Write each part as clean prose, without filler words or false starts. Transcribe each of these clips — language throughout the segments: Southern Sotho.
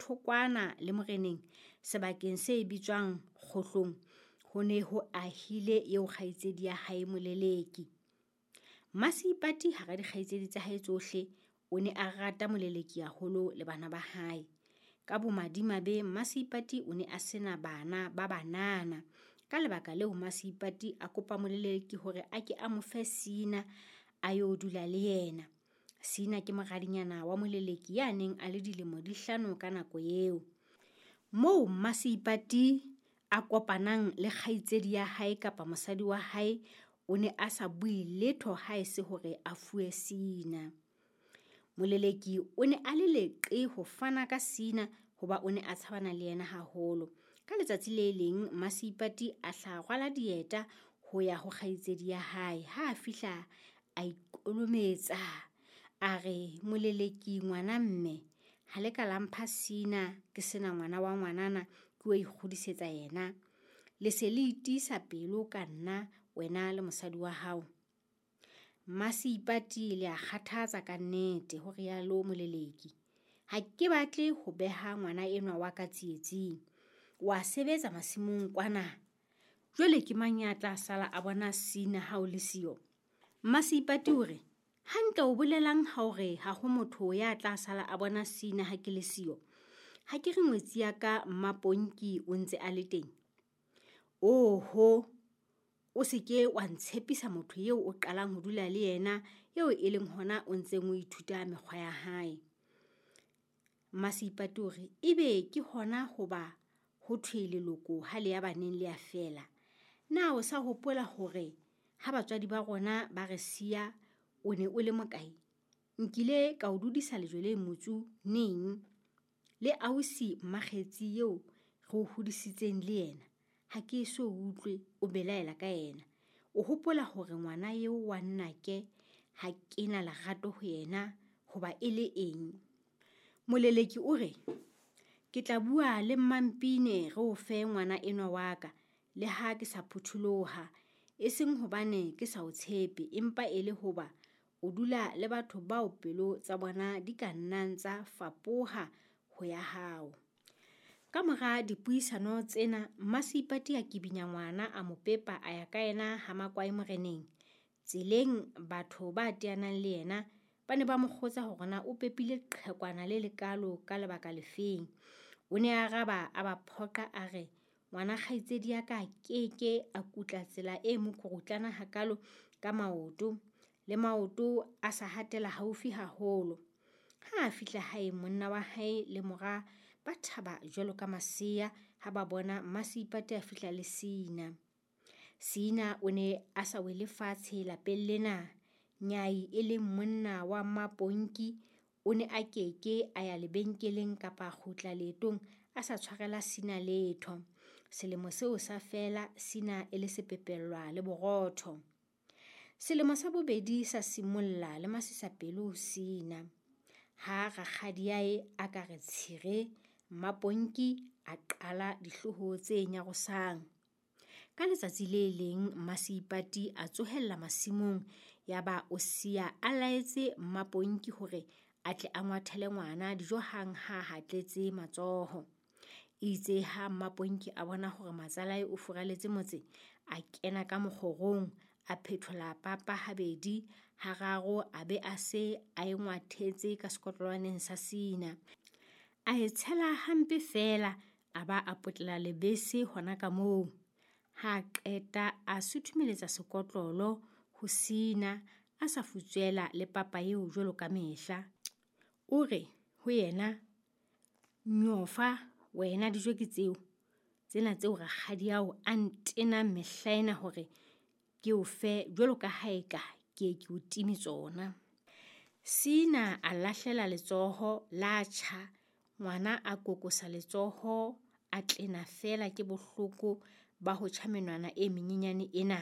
Thokwana le moreneng, sebakeng se bitswang Kgohlong, ho ne ho ahile eo kgaitsedi ya hae Moleleki. Mmaseipati hara dikgaitsedi tsa hae tsohle, o ne a rata Moleleki haholo le bana ba hae. Ka bomadimabe Mmaseipati o ne a sena bana ba banana. Ka lebaka leo Mmaseipati a kopa Moleleki hore a ke a mo fe Sina a yo dula le yena. Sina ke moradinyana wa Moleleki ya neng a le dilemo di 5 ka nako eo. Moo Mmaseipati a kopanang le kgaitsedi ya hae kapa mosadi wa hae, o ne a sa bue letho haese hore a fuwe Sina. Moleleki o ne a le leqe ho fana ka Sina hoba o ne a tshabana le yena haholo. Ka letsatsi le leng Mmaseipati a hla rwala dieta ho ya ho kgaitsedi ya hae. Ha a fihla a ikolometsa, a re, Moleleki ngwana mme, ha le ka la mpha Sina ke sena ngwana wa ngwanana, ke o ikgodisetsa yena. Le se le itiisa pelo ka nna, wena le mosadi wa hao. Mmaseipati le a kgathatsa ka nnete, ho rialo Moleleki. Ha ke batle ho beha ngwana enwa wa ka tsietsing. Wa sebetsa masimong kwana. Jwale ke mang ya tla sala a bona Sina ha o le siyo? Mmaseipati o re, hantle o bolelang ha o re ha ho motho ya tla sala a bona Sina ha ke le siyo? Ha ke re ngwetsi ya ka Mmaponki o ntse a le teng? Oho, o se ke wa ntshepisa motho eo o qalang ho dula le yena, eo e leng hona o ntseng o ithuta mekgwa ya hae. Mmaseipati o re, ebe ke hona hoba ho thwe leloko ha le ya baneng le ya fela. Na o sa hopola hore ha batswadi ba rona ba re siya o ne o le mokae? Nkile ka o dudisa lejwe le motsu neng? Le ausi Mmakgetsi eo re o hodisitseng le yena, ha ke eso utlwe o belaela ka yena. O hopola hore ngwana eo wa nnake ha ke na lerato ho yena hoba e le eng? Moleleki o re, ke tla bua le Mmampine re o fe ngwana enwa wa ka, le ha ke sa phutholoha, e seng hobane ke sa o tshepe, empa e le hoba o dula le batho bao pelo tsa bona di ka nnang tsa fapoha ho ya hao. Ka mora dipuisano tsena, Mmaseipati a kibinya ngwana a mo pepa a ya ka yena ha Makwae moreneng. Tseleng batho ba teanang le yena ba ne ba mo kgotsa hore na o pepile qhekwana le lekalo ka lebaka lefeng. O ne a araba a ba phoqa a re, ngwana kgaitsedi ya ka keke a kutla tsela e mokurutlana hakalo ka maoto, le maoto a sa hatela haufi haholo. Ha a fihla hae, monna wa hae le mora ba thaba jwalo ka masea ha ba bona Mmaseipati a fihla le Sina. Sina o ne a sa wele fatshe lapeng lena. Nyai e leng monna wa Mmaponki o ne a keke a ya lebenkeleng kapa kgutla leetong a sa tshwarela Sina letho. Selemo seo sa fela Sina e le sepepellwa le borotho. Selemo sa bobedi sa simolla le masisapelo ho Sina. Ha rakgadiae a ka re tshire, Mmaponki a qala dihlooho tse nyarosang. Ka letsatsi le leng Mmaseipati a tsohella masimong, yaba o siya a laetse Mmaponki hore a tle a ngwathele ngwana dijo hang ha hatletse matsoho. Itse ha Mmaponki a bona hore matsalae o furaletse motse, a kena ka mokgorong, a phethola papa habedi, hararo a be a se a e ngwathetse ka sekotlolwaneng sa Sina. A e tshela hampe feela, a ba a potlela lebese hona ka moo. Ha qeta a suthumeletsa sekotlolo ho Sina a sa futswela le papa eo jwalo ka mehla. O re ho yena, nyofa wena dijo ke tseo, tsena tseo rakgadi ao a ntenang mehla ena hore ke o fe jwalo ka ha eka ke ke o time tsona. Sina a lahlela letsoho la tjha, ngwana a kokosa letsoho a tlena feela ke bohloko ba ho tjha menwana e menyenyane ena.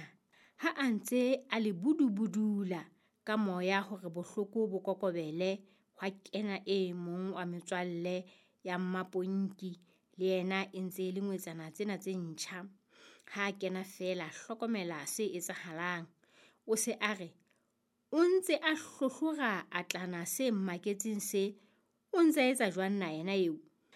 Ha a ntse a le budubudula ka moya hore bohloko bo kokobele, hwa kena e mong wa metswalle ya Mmaponki, le yena e ntse e le ngwetsana tsena tse ntjha. Ha kena feela hlokomela se etsahalang. O se a re, o ntse a hlohlora atlana se mmaketseng se, o ntse a etsa jwang na yena eo?